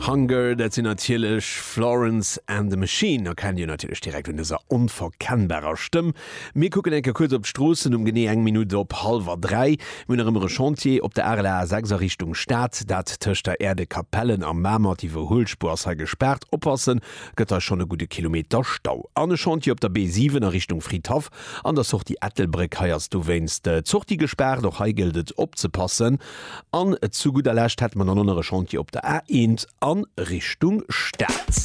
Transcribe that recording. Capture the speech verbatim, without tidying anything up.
Hunger, dat sinn natierlech Florence and the Machine, erkennt Dir natierlech direkt un dëser onverkennbarer Stëmm. Mir kucken eng Kéier kuerz op d'Stroossen um genee eng Minutt op hallwer dräi. Mir hunn nach ëmmer e Chantier op der Areler A sechs a Richtung Stad, dat tëscht der Aire de Capellen a Mamer. D'Iwwerhuelspuer ass hei gespaart, oppassen, gëtt hei schonn e gudde Kilometer Stau. An e Chantier op der B siwen a Richtung Fridhaff an der Sortie Ettelbréck, hei ass dowéinst d'Sortie gespaart, och hei gëllt et opzepassen. An zu gudder Lescht hätte mer dann och nach e Chantier op der A eent a Richtung Stad.